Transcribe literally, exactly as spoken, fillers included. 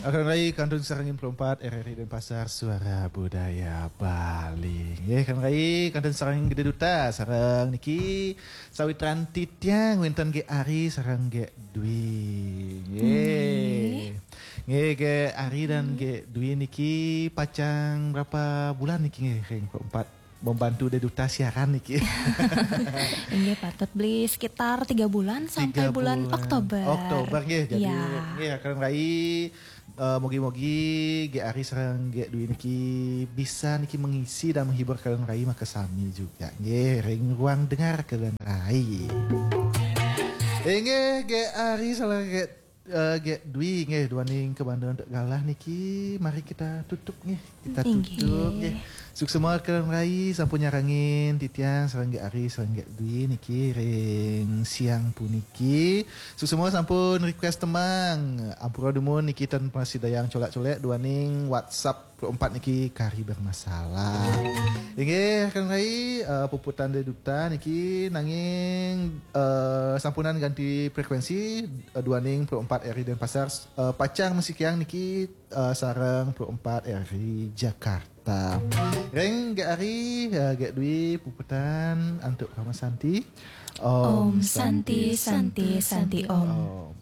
Akan rai kantun sareng Pro empat R R I Denpasar, Suara Budaya Bali. Nggih, akan rai kantun sareng Gede Duta, sareng niki sawitran titiang wenten Ge Ari sareng Ge Dwi. Nggih. Nggih, Ge Ari dan Ge Dwi niki pacang berapa bulan niki nggih ring Pro empat membantu Gede Duta siaran niki? Inggih, patut beli sekitar tiga bulan sampai Tiga bulan bulan. Oktober. Oktober nggih. Jadi Ya. nggih, akan rai eh, mogi-mogi Ge Ari sareng Ge Dwi niki bisa niki mengisi dan menghibur kalian rai makasami juga nggih ring ruang dengar kalian rai. Inggih, Ge Ari sareng Ge eh, Ge Dwi nggih, duaning kebanda untuk galah niki, mari kita tutup nggih. Kita Inggih. Tutup nggih. Suksma kalian rai sampun nyarengin titiang sareng Ge Ari sareng Ge Dwi niki ring siang puniki. Suksma sampun request tembang. Ampura dumun niki ten prasida yang colek-colek duaning WhatsApp Pro empat niki kari bermasalah. Inggih, akan rai eh, puputan Gede Duta niki, nanging eh, sampunan ganti frekuensi eh, duaning Pro empat R I Denpasar eh, pacang masikiang niki eh, sareng Pro empat R I Jakarta. Ring Ge Ari, eh, Ge Dwi puputan antuk Parama Santi. Om Santi, Santi, Santi, Om. Om.